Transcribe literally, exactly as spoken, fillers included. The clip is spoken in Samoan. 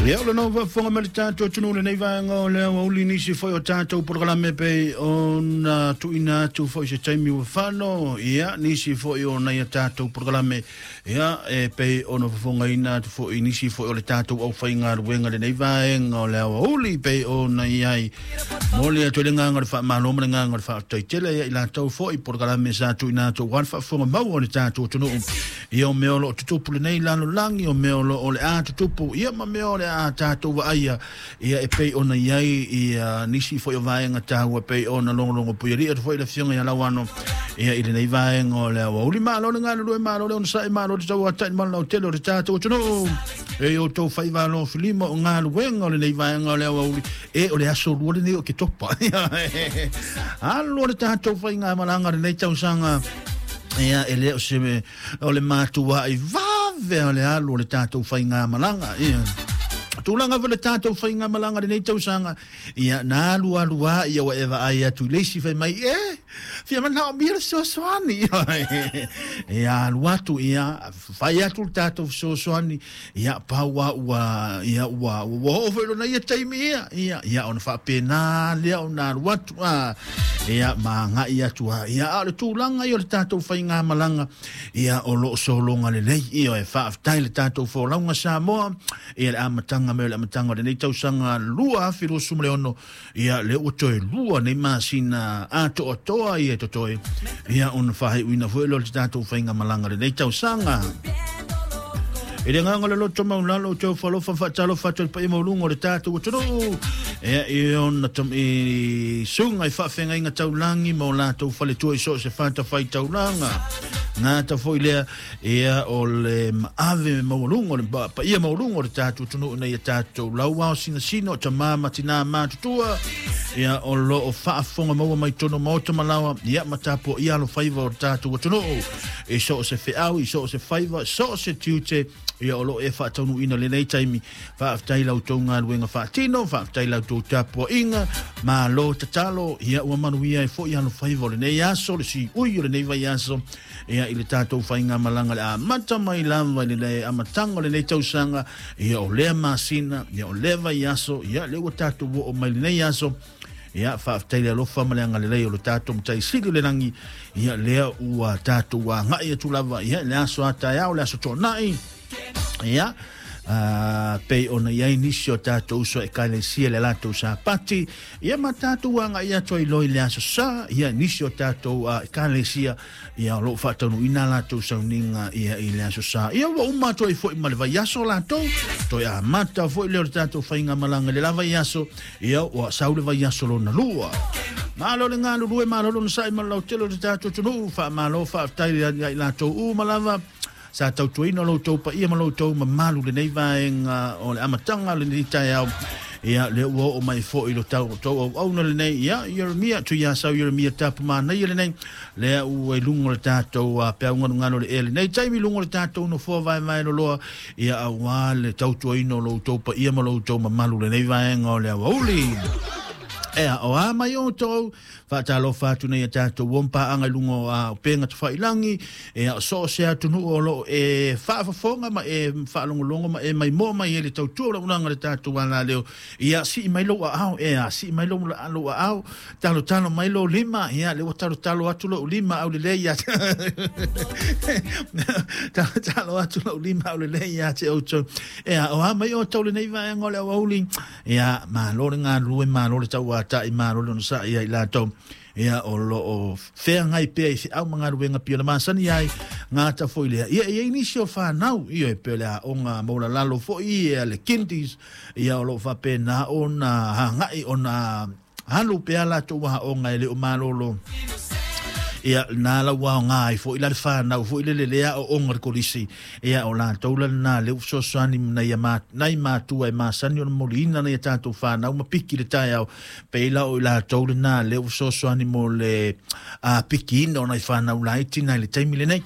Ia o lena faafofoga mai le tatou atunuu lenei vaega o le aoauli nisi foi o tatou polokalame pei ona tuuina atu foi se taimi ua fano ia nisi foi o nai a tatou polokalame ia e pei ona fofogaina atu foi nisi foi o le tatou aufaigaluega lenei vaega o le aoauli pei ona i ai mo le atu le agaga o le faamalo ma le agaga o le faafetai tele ia i latou foi polokalame sa tuuina atu aua le faafofoga maua o le tatou atunuu ia o mea o loo tutupu lenei lalolagi o mea o loo o le a tutupu ia ma mea o le a tatou vaaia ia e pei ona i ai ia nisi foi o vaega taua pei ona logologo puialii atu foi le afioga ia Lauano ia i lenei vaega o le aoauli. Malo le galulue, malo le onosai, malo le tauata'i ma le lautele o le tatou atunuu e outou faivalo filima o galuega o lenei vaega o le aoauli e o le aso lua lenei o Ketopa alu o le tatou faigamalaga lenei tausaga ia e le o se o le matua'i vave o le alu o le tatou faigamalaga ia tulaga foi le tatou faigamalaga lenei tausaga ia na alu alu a ia ua e vaai atu i le isi fai mai e fia manaomia le fesoasoani ia alu atu ia fai atu le tatou fesoasoani ia pau a ua ia ua ua oo foi lona ia taimi ia ia ia ona faapena lea ona alu atu a ia ma agai atu a ia a o le tulaga ia o le tatou faigamalaga ia o loo sologa lelei ia e faafetai le tatou folauga Samoa ia le amataga mai o le amataga o lenei tausaga lua afe luasefulu ma le ono ia lea ua toe lua nei masina atoatoa ia totoe ia ona faaiuina foi lea o le tatou faigamalaga lenei tausaga. I le agaga o le loto maulalo ou te ofo faatalofa atu i le paia maualuga o le tatou atunuu ia i ona i susuga i faafeagaiga taulagi ma o latou faletua i so o se fatafaitaulaga gata foi lea ia o le maave maualuga o le paia maualuga o le tatou atunuu ina ia tatou lauao sinasina o tamā ma tinā matutua ia o loo faafofoga maua mai totonu maota malaoa ia ma tapuaia alofaiva o le tatou atunuu i so o se feau i so o se faiva so o se tiute ia o loo e faataunuuina lenei taimi. Faafetai la outou galuega faatino, faafetai la outou tapuaʻiga, malo tatalo ia ua manuia ai foi alofaiva o lenei aso le siui o lenei vaiaso ia i le tatou faigamalaga le amata mai lava i le amataga o lenei tausaga ia o lea masina ia o lea vaiaso ia lea ua tatou oo mai lenei aso ia faafetai le alofa ma le agalelei o le tatou Matai Sili o le lagi ia lea ua tatou agai atu lava ia le aso taeao le aso Toonai ia uh, pei ona i ai nisi o tatou uso ekalesia le latou Sapati ia ma tatou agai atu ai loa i le aso Sa ia nisi o tatou uh, ekalesia ia o loo faataunuuina latou sauniga ia i le aso Sa ia ua uma atu ai foi ma le vaiaso latou toe amata foi lea o le tatou faigamalaga le la vaiaso ia ua sau le vaiaso lona lua. Malo le galulue, malo le onosai ma le lautele o le tatou atunuu. Faamalo faafetai ia i latou uma lava sa tautuaina lo outou paia ma lo outou mamalu lenei vaega o le amataga o lenei taeao ia lea ua oo mai foi lo tau tou auauna lenei ia Ieremia Tuiasau Ieremia Tapumanaia lenei lea ua i luga o le tatou peaugalugalu o le ea lenei taimi luga o le tatou nofoa vaevae loloa ia auā le tautuaina o lo outou paia ma lo outou mamalu lenei vaega o le aoauli. Ea o a mai outou faatalofa atu nei a tatou uompaaga i luga o a upega tafailagi ea o so o se atunuu o loo e faafofoga ma e faalogologo ma e maimoa mai e le tautua o launaga le tatou alaleo ia sii mai lou aao ea sii mai lou lou aao talotalo mai lou lima ia le ua talotalo atu lou lima aulelei ia talotalo atu lou lima aulelei ia te outou ea o a mai outou lenei vaega o le aoauli ia malo le galulue, malo le tauata'i, malo le onosa'i ia i latou ia o loo feagai pea i feau ma galuega pei ona masani ai gata foi lea ia e iai nisi o fanau ia e pei o le aoga maualalalo foi ia le kindies ia o loo faapena ona agai ona alu pea latou aoga e le o malolo ia na la ua aoga ai foi la le fanau foi lele le aooga le kolisi ia o latou la lena lea ua fesoasoani nai ma nai matua e masani ona moliina nai a tatou fanau ma piki le taeao pei la o i latou lena lea ua fesoasoani mo le a pikiina o nai fanau laiti nai le taimi lenei.